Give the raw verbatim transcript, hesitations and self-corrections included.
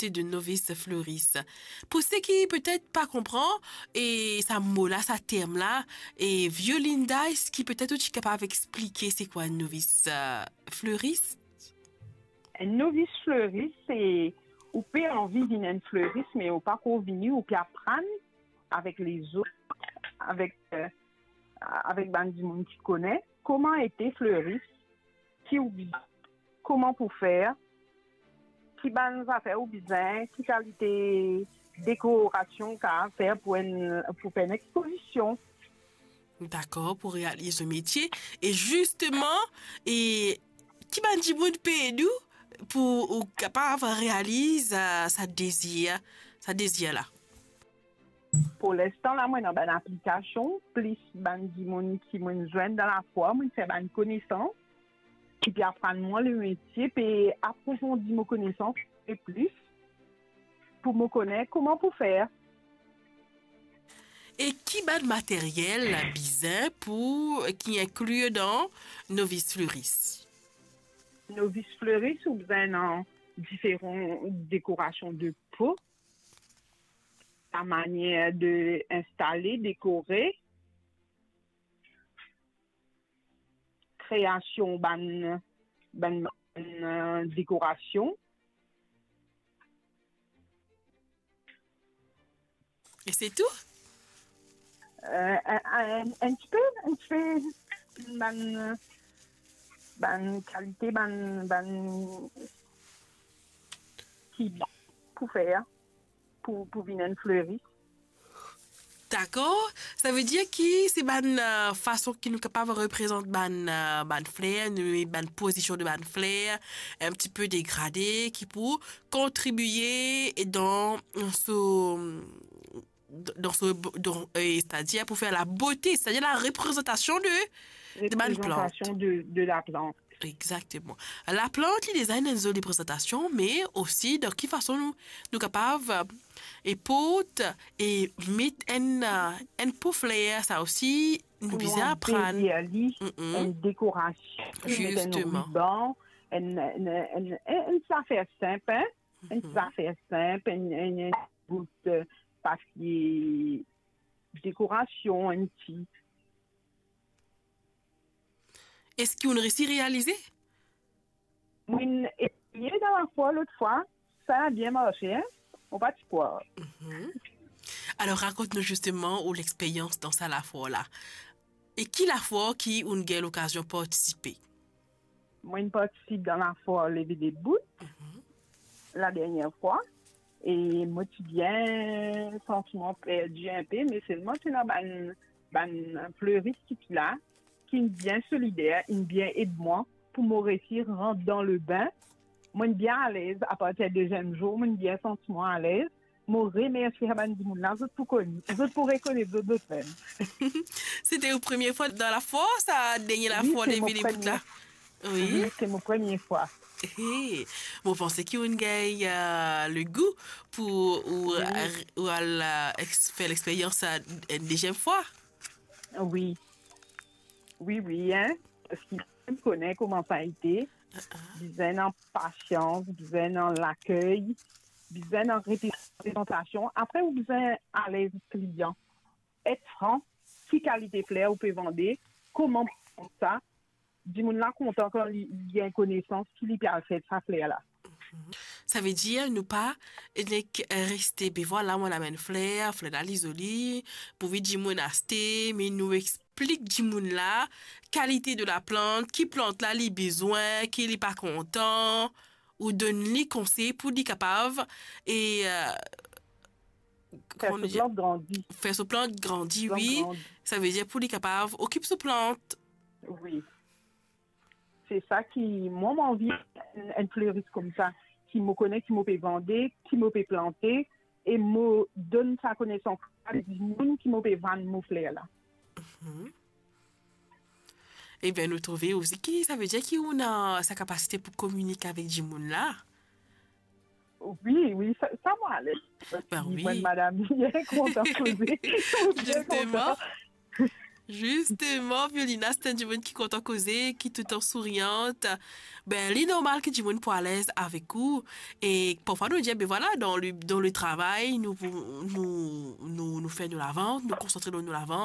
de novice fleuriste. Pou seki petet pa konpran, e sa mo la, sa term la, e Violinda, eski petet ou ti kapav explike se kwa enn novice, euh, fleuriste? Enn novice fleuriste, se ou pe anvi vinn enn fleuriste, me ou pa ankor vini, ou pe aprann avek lezot, avek, euh, avek bann dimoun ki kone kouma ete fleuriste, ki ou bizin, kouma pou fer, ki bann zafer ou bizin, ki kalite dekorasion ou kapav fer pou enn, pou fer enn expozision. Dakor, pou realiz ou metie. E zisteman, e ki bann dimoun pe ed ou pou ou kapav realiz, euh, sa dezir, sa dezir la? Pou linstan la, mo ena bann aplikasion, plis bann dimoun ki mo zwenn dan lafwar, mo fer bann konesans, ki pe aprann mwa lemetie, pe aprofondi mo konesans plis, pou mo kone kouma pou fer. E ki bann materyel bizin pou, ki inkli dan novice fleuriste? Novice fleuriste, ou bizin ena diferan dekorasion de po, la manier de instale, dekore, kreasion bann, bann, bann, euh, dekorasion. E se tou? Euh, enn, enn, enn tipe, enn tipe bann, bann kalite, bann, bann ki pou fer, pou, pou vinn enn fleuriste. Dakor. Savedir ki se bann, euh, fason ki nou kapav reprezant bann, euh, bann fler, nou, bann pozision de bann fler, enn tipe degrade, ki pou kontribie dan so, dan so, dan, euh, setadir pou fer labote, setadir la reprezantasion de, de bann plant. Reprezantasion de, de laplant. Exakteman. Laplant, li deza ena enn zoli prezantasion, me osi dan ki fason nou, nou kapav, euh, e port e met enn, euh, enn po fler, sa osi, nou bizin aprann. Pou nou anbeli li, mm, enn dekorasion, met enn riban, enn, enn, enn, enn, enn zafer sinp, hein? Enn zafer sinp, enn, enn, enn bout, euh, papie dekorasion, enn ti. Eski ou resi realize? Mo'nn eseye dan lafwar lot fwa, sa bien marse, hein? Mo pa ti krwar. Mhm. Alor, rakont nou zisteman ou lexperyans dan sa lafwar la. E ki lafwar ki ou'nn gagn lokazion partisipe? Mo'nn partisip dan lafwar Leve Debout, mhm, ladernie fwa, e mo ti bien santi mwa perdi inpe, me selman ti ena bann, bann fleurist ki ti la, ki'nn bien solider, inn bien ed mwa pou mo resi rant dan lebin. Mo'nn bien alez, apartir deziem zour, mo'nn bien santi mwa alez. Mo remersie sa bann dimoun la, zot pou kone, zot pou rekonet zot, zot mem. Sete ou premie fwa dan lafwar, sa dernie lafwar Leve Debout la? Wi, se mo premie fwa. Wi, se mo premie fwa. He, mo panse ki ou'nn gagn, euh, legou pou ou, wi, ou al, euh, ex-, fer lexperyans, euh, enn deziem fwa. Wi. Wi, wi, hein. Parski ou kone kouma sa ete. Ah, ah. Bizin ena pasians, bizin ena lakey, bizin ena reprezantasion. Apre, ou bizin alez klian. Et fran, ki kalite fler ou pe vande, kouma pou vand sa, dimoun la kontan kan li, li gagn konesans ki li pe al fer sa fler la. Savedir nou pa nek reste, be vwala, mo amenn fler, fler la li zoli, pou vinn dimoun aste, me nou explik dimoun la kalite de laplant, ki plant la li bizin, ki li pa kontan, ou donn li konsey pou li kapav, e, euh, fer so plant grandi. Fer so plant grandi, wi. Savedir pou li kapav okip so plant. Wi. Se sa ki, mwa, mo anvi enn, enn fleurist koumsa, ki mo kone ki mo pe vande, ki mo pe plante, e mo donn sa konesans la dimoun ki mo pe vann mo fler la. Mhm. Ebien, nou trouve osi ki, savedir ki ou ena sa kapasite pou kominike avek dimoun la. Wi, wi, sa, sa mo alez. Ben wi. Mwa, madam, bien kontan koze. Bien kontan. Zisteman. Zisteman, Violina, se enn dimoun ki kontan koze, ki toultan souriant. Ben, li normal ki dimoun pou alez avek ou. E parfwa nou dir, ben vwala, dan le, dan le travay, nou, nou, nou, nou fer nou lavant, nou konsantre dan nou lavant.